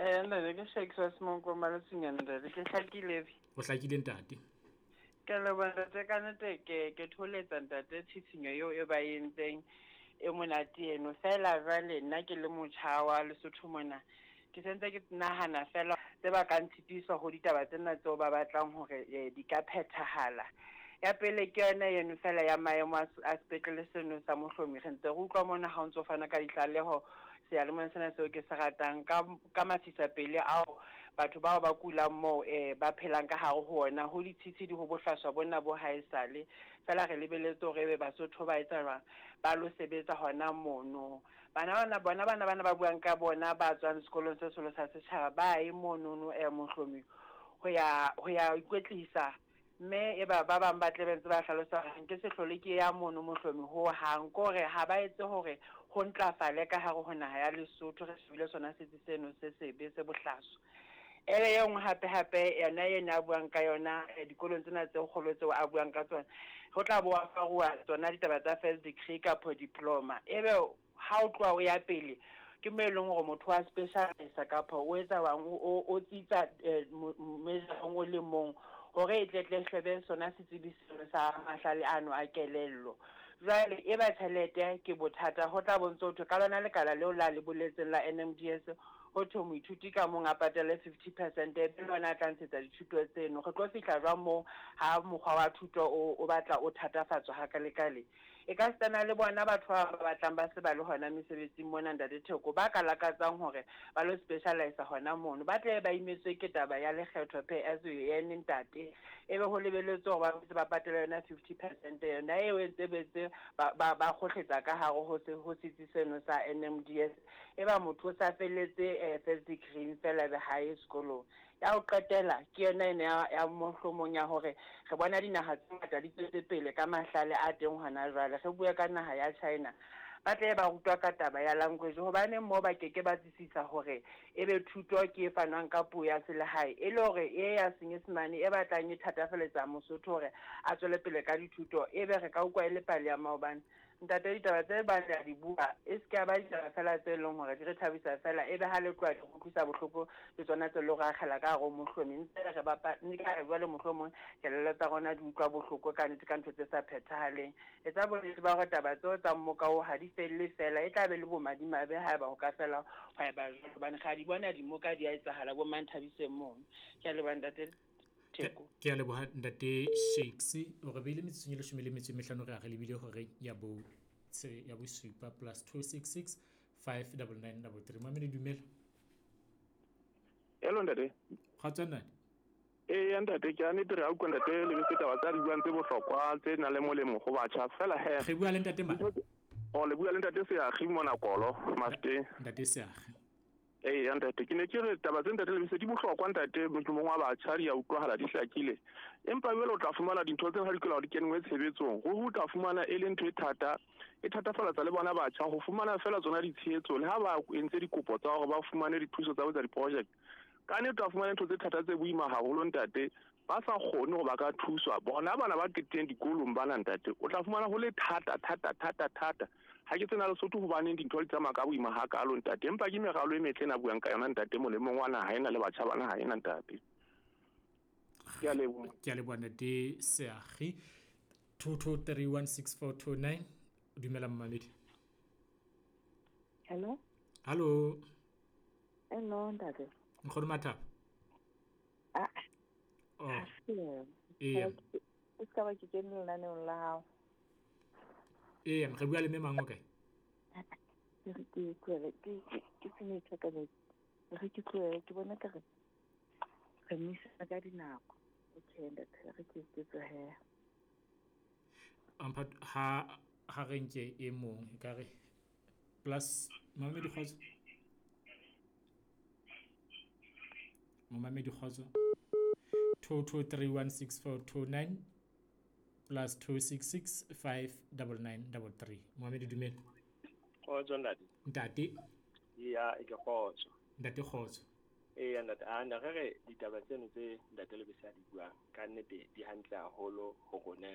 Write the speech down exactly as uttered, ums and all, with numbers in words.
Eh ntate ke Shakes wa Semonkong Malotsinyane ntate ke hlakile. O hlakile ntate. Ke leboha ntate ka nnete ke ke tholetsa ntate tshitshinyo eo e ba entseng e monate eno. Feela jwale nna ke le motjha wa Lesotho mona ke sentse ke nahana feela tse ba ka ntshitisa ho ditaba tsena tseo ba batlang hore di ka phethahala. Ya pele ke yona eno feela ya maemo a sepetlele seno sa Mohlomi. Re ntse re utlwa mona ha o ntso fana ka ditlaleho seyalemoyeng sena seo ke se ratang ka ka masisapele ao batho bao ba kulang moo eh ba phelang ka hare ho ona ho ditshitshidi ho bohlaswa bona bo haesale. Feela re lebeletse hore ebe Basotho ba etsa jwang ba lo sebetsa hona mono. Bana bana bona bana bana ba buang ka bona ba tswang sekolong se seholo sa setjhaba ba ye monono eh Mohlomi ho ya ho ya ikwetlisa. Mme e ba ba bang ba tle ba ntse ba hlalosa hore nke se hlole ke ya mono Mohlomi ho hang kore ha ba etse hore ho ntlafale ka hare ho naha ya Lesotho re shebile sona setsi seno se sebe se bohlaswa. Ele e nngwe hape hape yona ena a buang ka yona dikolong tsena tse kgolo tseo a buang ka tsona ho tla bo afaruwa tsona ditaba tsa first degree kapa diploma. Ebe ha o tloha o ya pele ke mo e leng hore motho wa specialisa kapa o etsa bang o o tsitsa mejarong o le mong hore e tle tle hlebe sona setsebi seno sa mahlale ano a kelello. Jwale e ba tjhelete ke bothata ho tla bontse ho thwe ka lona lekala leo la le boletseng la N M D S ho thwe moithuti ka mong a patale fifty percent e be lona a tla ntshetsa dithuto tseno. Re tlo fihla jwang moo ha mokgwa wa thuto o o batla o thatafatswa hakalekale. E ka sitana le bona batho ba batlang ba se ba le hona mesebetsing mona ntate Theko ba ka lakatsang hore ba lo specialise hona mono ba tle ba imetswe ke taba ya lekgetho pay as you earn ntate ebe ho lebeletswe hore ba se ba patale yona fifty percent yona eo e ntse betse ba ba ba kgohletsa ka hare ho se ho setsi seno sa N M D S e ba motho o sa felletse first degree fela be ha ye sekolong. Ya ho qetela ke yona ena ya ya mohlomong ya hore re bona dinaha tse ngata di tswetse pele ka mahlale a teng hona jwale. Re bue ka naha ya China ba tle ba rutwa ka taba ya language hobane moo ba keke ba tsisisa hore ebe thuto ke e fanwang ka puo ya selehae e le hore e ya Senyesemane e batlang e thatafaletsa Mosotho hore a tswele pele ka dithuto ebe re ka utlwa e le pale ya maobane. Ntate ditaba tse ba le di bua e se ka ba ditaba fela tse leng hore di re thabisa fela ebe ha le tloha di utlwisa bohloko le tsona tse leng hore akgela ka hare ho Mohlomi ntse re bapa mme ka re jwale mohlomong kelello tsa rona di utlwa bohloko ka nnete ka ntho tse sa phethahaleng. Etsa bonnete ba hore taba tseo tsa mmoka oo ha di felle fela e tla be le bomadimabe haeba ho ka fela hwa eba jwalo hobane ga di bona dimoka di a etsahala bo Manthabiseng mono. Ke a leboha ntate Theko. Ke a leboha ntate Shakes. O re beile metsotsong e leshome le metso e mehlano re a re lebile hore ya bo tse ya bosupa plus two six six five double nine double three. Mamedi dumela. Hello ntate. Kgotso ntate. Eh ntate ke a nnete re a utlwa ntate le bese taba tsa di buang tse bohlokwa tse nang le molemo ho batjha fela he. Re bua le ntate mang? O le bua le ntate Seakgi mona Kolo Mafeteng. Ntate Seakgi. Eh ntate ke ne ke re taba tse ntate le bese di bohlokwa ntate mohlomong wa batjha di a utlwahala di hlakile. Empa jwale o tla fumana dintho tse ha di kela di kenngwe tshebetsong. Ho ho tla fumana e le ntho e thata e thatafalatsa le bona batjha ho fumana fela tsona ditshehetso le ha ba entse dikopo tsa hore ba fumane dithuso tsa ho etsa di-project. Ka nnete o tla fumana ntho tse thata tse boima haholo ntate ba sa kgone hore ba ka thuswa bona bana ba qeteng dikolong bana ntate o tla fumana ho le thata thata thata thata. Ha ke tsena Lesotho hobaneng dintho di tsamaya ka boima hakalo ntate empa ke meralo e metle ena buang ka yona ntate molemong wa naha ena le batjha ba naha ena ntate. Ke a leboha. Ke a leboha ntate Seakgi. two two three one six four two nine. Dumela mmamedi. Hello. Hello. Hello ntate. Nkgono Mathabo. Ah. Oh. Ee. O ska ba ke kene lenaneong la hao. Ee, re bua le mme mang o kae? Ke re ke tlohele ke ke se ka metsi. Re ke tlohele ke bona ka re re misa ka dinako. Okay ntate re ke ke tlohele. Ampha ha ha re nke e mong e ka re plus mamedi kgotso. Momamedi kgotso. two two three one six four two nine plus two six six five double nine double three. Mohamedi dumela. Kgotso ntate. Ntate. Ya e ke kgotso. Ntate kgotso. Eh ntate a na re re ditaba tseno tse ntate le bese a di buang ka nnete di hantle haholo ho rona